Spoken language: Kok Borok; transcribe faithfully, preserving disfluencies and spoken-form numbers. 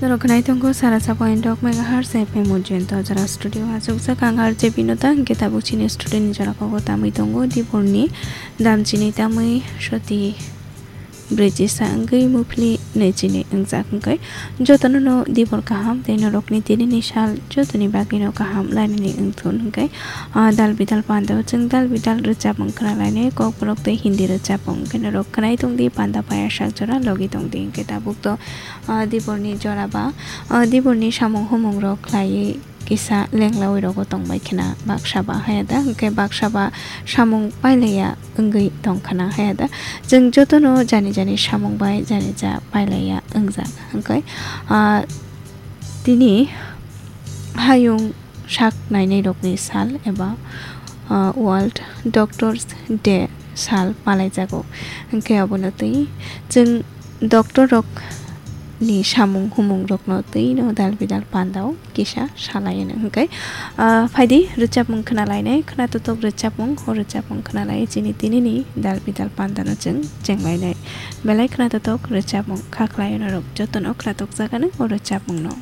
Norok khnai tongo sara sa point dok megahertz F M Ujjayanta jora studio o achukjak ang R J Binoda, hwnkhe tabuk chini studio ni jora kogo tamwi tongo Diborni damchini tamwi soti brwi chisa wngwi muphli nwi chini wngjak, hwnkhe jotono no Dibor kaham tei norokni tinini sal jotoni bagwino kaham lainani wngthun, hwnkhe ah, dal bidal panda o chwng dal bidal rwchapmung khwnalainai, kokborok tei Hindi rwchapmung, hwnkhe norok khnai tongdi panda paya sak jora logi tongdi, hwnkhe tabuk to ah, Diborni jora ba, ah, Diborni samung humung rok khlaiwi kisa lenglawi rogo tongbai khna baksa ba haya da, hwnkhe baksa ba samung pailaiya wngwi tong khna haya da. Chwng jotono jani jani samung bai jani ja pailaiya wngjak, hwnkhe ah, tini hayung sak nainai rokni sal eba ah, World Doctors Day sal palaijago. Hwnkhe obono twi chwng doctor rok ni samung humung rokno twi no dal bidal panda o kisa salai hwnkhe, ah, phaidi rwchapmung khwnalainai, khwnatotok rwchapmung, o rwchapmung khwnalai chini tinini dal bidal panda no chwng chenglainai. Belai khwnatotok rwchapmung kha khlai norok jotono khwnatok jagano o rwchapmung no.